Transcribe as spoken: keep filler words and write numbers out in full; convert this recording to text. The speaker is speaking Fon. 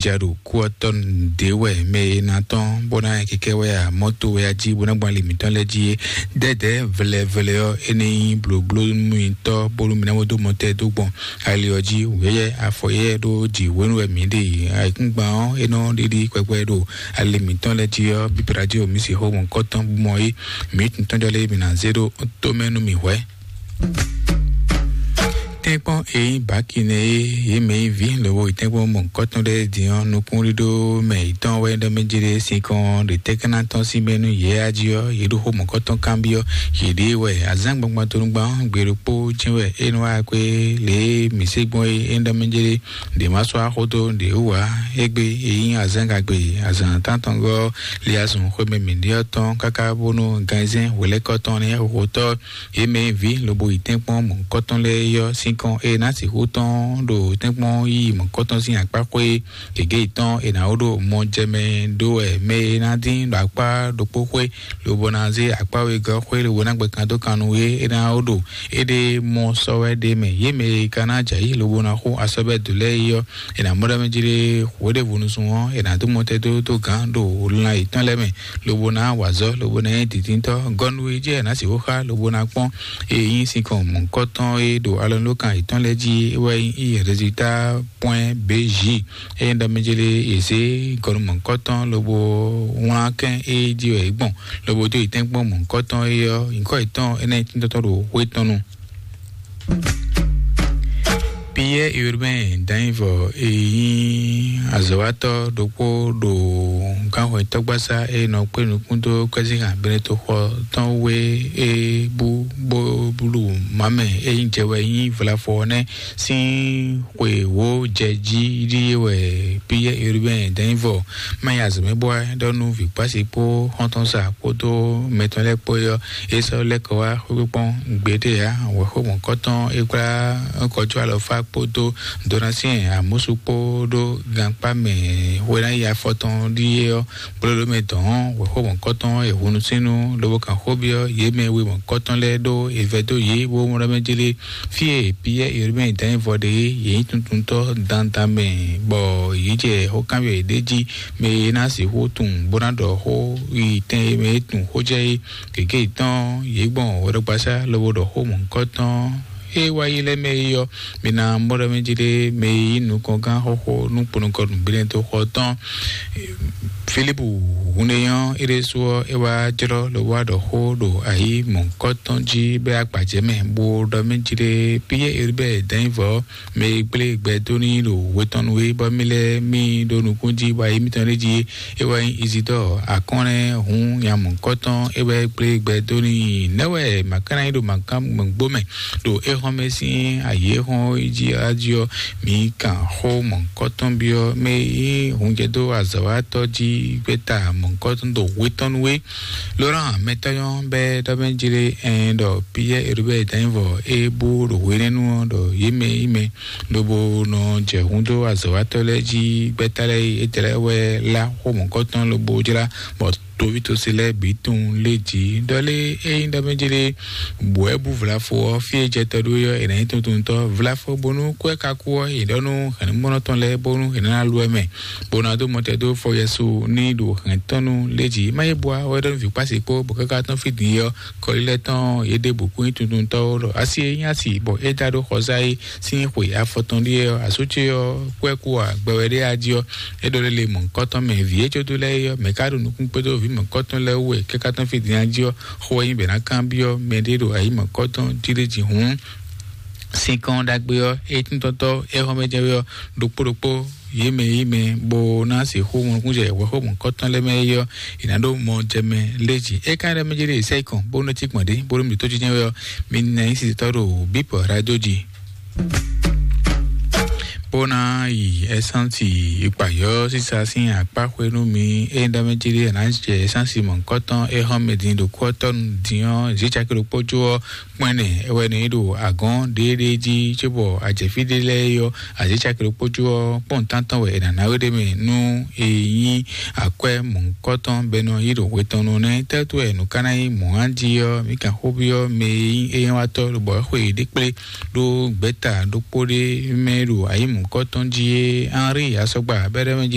ja ɖo kú ɔ́ tɔn ɖě wɛ mɛ e ná tɔn bó ná kɛkɛ wɛ a mɔto wɛ a jí bó ná gbɔn ali mǐtɔn lɛ́ɛ jí é. Dɛdɛ vlɛvlɛ ɔ́, é ní nyí blóbló nú mitɔ́ bónú mi ná bó dó mɔtɛ́ dó gbɔn ali ɔ́ jí. Wěyɛ afɔ yɛ ɖó jǐ hwenu wɛ mǐ ɖe yi. Ayǐkúngban ɔ́, é nɔ ɖiɖi kpɛkpɛ ɖo ali mǐtɔn lɛ́ɛ jí ɔ́, bíbí radio mi si xó mɔ̌kɔtɔn bú mɔ é. Mǐ tun tɔ́njɔ lɛ́ɛ mi ná zé ɖó tomɛ nú mì hwɛ̌. Tɛ́nkpɔ́n e nyí bǎki nɛ́ é, yě mɛ nyí vǐ lobo yi tɛ́nkpɔ́n mɔ̌hunkɔtɔn lɛ́ɛ din ɔ́, nukúnɖíɖó mɛ yětɔn wɛ ɖɔ mɛ jlé sinkɔn ɖe tɛ́ ká ná tɔ́n sín mɛ nú yě a jí ɔ́, yě ɖo xó mɔ̌hunkɔtɔn kanbyɔ́ yěɖée wɛ. Azǎn gbɔngbɔn tonugban ɔ́, gbe ɖokpó jɛ́n wɛ é nɔ wá kwé lě e mǐ se gbɔn é, é ɖɔ mɛ jlé ɖě má sɔ́ axó dó ɖě wú ǎ. Égbé e nyí azǎn gagbe azǎn tántɔngɔ́ ɔ́, li azɔn xwé mɛ mǐ ɖe ɔ́ tɔn káká bónú ganzɛ́n hwelɛ́kɔ tɔn nɛ́ xóxótɔ́. Yě mɛ e vǐ lobo yi tɛ́nkpɔ́n mɔ̌hunkɔtɔn lɛ́ɛ é ɔ́, sinkɔn e ná sixú tɔn ɖo tɛ́nkpɔ́n yíyí mɔ̌hunkɔtɔn sín akpáxwé gěgé yětɔn e ná wó ɖo mɔ jɛ mɛ ɖó wɛ mɛ e ná dín ɖo akpá ɖokpó xwé lobo ná zé akpá wegɔ́ xwé lobo ná gbɛ kan dó kan nú é, é ná wó ɖo éɖée mɔ sɔ́ wɛ ɖ'é mɛ. Yě mɛ e ka ná jɛ ayǐ lobo ná xo asɔ́ bɛ́ dǒ lɛ́ɛ é ɔ́, è nǎ mɔ ɖɔ mɛ jí ɖé hweɖěvo nusún ɔ́, è nǎ dó mɔtɛ́ dó dó gǎn ɖo lan yětɔn lɛ́ɛ mɛ, lobo ná wa azɔ̌, lobo ná nyí dǐndíntɔ́. Gɔnu e jɛ ná sixú xá, lobo ná kpɔ́n e nyí sinkɔn mɔ̌hunkɔtɔn e ɖo alɔnulókan yětɔn lɛ́ɛ jí é wɛ nyí résultat point B J. Eye ɖɔ mɛ jele è zě gɔnu mɔ̌hunkɔtɔn lobo wlán kɛn e jí wɛ é gbɔn, lobo dó yi tɛ́nkpɔ́n mɔ̌hunkɔtɔn é ɔ́, nyǐkɔ yětɔn énɛ́ tíntɔ́tɔ́ ɖo xwé tɔn nu. Pierre Urbain Danivɔ e nyí azɔ̌watɔ́ ɖokpó ɖo gánxɔtɔ́gbasá e nɔ kpé nukún dó kwɛ́zínhàn Benetoxɔ tɔn wé e bú bó blú mamɛ e nyí jɛ wɛ nyí vlafɔ ɔ́ nɛ́ sín xwe wǒ jɛ jí ɖíe wɛ Pierre Urbain Danivɔ má nyí azɔ̌ mɛ bó wá ɖɔ nú vǐkpási kpó xɔ́ntɔn sa kpódó mɛtɔn lɛ́ɛ kpó é ɔ́, é sɔ́ lɛ́ kɔ wá xwé kpɔ́n gbeɖé ǎ. Wɛ̌xo mɔ̌kɔtɔn é kplá kɔjú alɔfá kpódó Donatien Amusu kpó ɖó gankpá mɛ hwe ná yi afɔtɔn ɖíe ɔ́, kplɔ́ɖó mɛ dɔn wɛ̌xo mɔ̌kɔtɔn e hunu sínú lobo kan xó byɔ́ yě mɛ we mɔ̌kɔtɔn lɛ́ɛ ɖó è vɛ́ dó yě bó mɔ ɖɔ mɛ jlé fí e Piyɛ́ɛ Urbain dán nyí vɔ ɖe é, yě nyí tuntuntɔ́ dandan mɛ, bɔ yě jɛ xó kanbyɔ́ yěɖée jí, mɛ e ná sixú tunwun bó ná ɖɔ xó yi tɛn e mɛ e tunwun xó jɛ é. Gěgé yětɔn yě gbɔn hwɛɖɔgbasá lobo ɖɔ xó mɔ̌hunkɔtɔn e wá yi lɛ́ɛ mɛ é ɔ́, mi ná mɔ ɖɔ mɛ jí ɖé mɛ e nyí nukɔngán xóxó nú kponɔkɔ nǔgbéɖɛtɔ́ xɔ tɔn. Filipu hun ɖé nyɔ́ é ɖésú ɔ́, é wá jlɔ́ lobo wá ɖɔ xó ɖo ayǐ mɔ̌hunkɔtɔn jí bɛ́ agbǎjɛ mɛ, bó ɖɔ mɛ jí ɖé Piyɛ́ɛ Elibɛ́ɛ dɛ̌nyívɔ mɛ e gblé gbɛ dó n'i ɖo we tɔn nu é, bɔ mì lɛ́ɛ mì ɖo nukún jí bɔ ayi mǐtɔn ɖé jí é wɛ nyí Izidɔ́ɔ akɔ́nlɛ́ hun nya mɔ̌hunkɔtɔn é wɛ gblé gbɛ dó n'i. Nɛ̌ wɛ mǎ ka ná nyí ɖo mǎ kan gbɔ̌ngbó mɛ ɖo éhɔ́n mɛ sín ayǐ e xɔ́n é jí á jí ɔ́, mǐ kan xó mɔ̌hunkɔtɔn byɔ́ mɛ e nyí hunjɛdó azɔ̌watɔ́ jí gbɛ́ta mɔ̌hunkɔtɔn ɖo hwe tɔn nu é. Lorán mɛtɔ́ nyɔ́ bɛ́ ɖɔ mɛ jlé ɛn ɖɔ Piyɛ́ɛ Elibɛ́ɛ danyivɔ é bú ɖo hwenɛ́nu ɔ́ ɖɔ yě mɛ yí mɛ lobo nɔ jɛ hun dó azɔ̌watɔ́ lɛ́ɛ jí gbɛ́ta lɛ́ɛ é tɛ́ lɛ́ɛ wɛ lá xó mɔ̌hunkɔtɔn lobo jlá bɔ toví tosi lɛ́ɛ bǐ tunwun lé jǐ. Ɖɔ lé é nyí ɖɔ mɛ jlé bǔ wɛ bú vlafo ɔ́, fí e jɛ tɔ ɖó é ɔ́, è nǎ nyí tuntuntɔ́ vlafo bónú kú ɛ ka kú ɔ́, è ɖɔ nú hɛ̌nnumɔ́nɔ tɔn lɛ́ɛ bónú è nǎ ná lu ɛ mɛ, bó ná dó mɔtɛn dó fɔ Yɛsu ní ɖo hɛ̌ntɔ́nu lé jǐ. Má yé bua wɛ ɖɔ nú vǐ kpási kpó bɔ káká tɔn fí din é ɔ́, kɔlílɛ́ tɔn yě ɖěbǔ kún nyí tuntuntɔ́ ó ɖɔ asi e nyí asi bɔ é da ɖó xɔzá é sín xwe afɔtɔn ɖíe ɔ́, asú ce ɔ́ kú ɛ kú ǎ, gbɛ wɛ ɖé á jí ɔ́, é ɖɔ lé le mɔ̌hunkɔtɔn mɛ vǐ e jó dó lɛ́ɛ é ɔ́, mɛ̌ ka ɖo nukún kpódó vǐ mɔ̌hunkɔtɔn lɛ́ɛ wú wɛ káká tɔn fí din á jí ɔ́, xó wɛ nyí bɛ̌ ná kanbyɔ́ mɛɖé ɖo ayǐ mɔ̌hunkɔtɔn jí ɖé jí hǔn. Sinkɔn ɖagbe ɔ́, é tíntɔ́tɔ́ é xɔ́mɛjɛwé ɔ́, ɖokpó ɖokpó yě mɛ yí mɛ bó ná sixú mɔnukúnjɛ wɛ̌xo mɔ̌hunkɔtɔn lɛ́ɛ mɛ é ɔ́, è nǎ ɖó mɔ jɛ mɛ lé jǐ. É ka ɖɔ mɛ jɛ ɖe sɛ́ kɔn bó nɔ cí gbɔn ɖě bó ɖo mǐtɔn jínjɛn wɛ ɔ́, mi ná nyí sitɔ́ ɖo bípɔ rádó jí. Bó ná yi ɛsánsì ikpayɔ́ sísa sín akpá xwé nú mi. É ɖɔ mɛ jí ɖé è nǎ jɛ ɛsánsì mɔ̌hunkɔtɔn é xɔ́n mɛ din ɖo kú ɔ́ tɔ́ nu din ɔ́, zǐ caki ɖokpó jó ɔ́, kpɔ́n ɛnɛ é wɛ nɔ yi ɖo agɔ̌n ɖéeɖée jí cóbɔ ajɛ̌fí ɖé lɛ́ɛ é ɔ́, azǐ caki ɖokpó jó ɔ́, kpɔ́n tántɔn wɛ è nǎ ná we ɖ'é mɛ nú è nyí akwɛ́ mɔ̌hunkɔtɔn bɔ è nɔ yi ɖo hwe tɔn nu nɛ́. Tɛ́tú wɛ nǔ ka ná nyí mɔ̌ jí ɔ́, mǐ kan xó byɔ́ mɛ e nyí éyɛ́wátɔ́ lobɔ é xwe yě ɖe kplé ɖó gbɛ̌ta ɖokpó ɖé mɛ ɖo ayǐ mɔ̌ kɔtɔn jí é, Henri Asɔgba bɛ́ɖɛ́ mɛ jí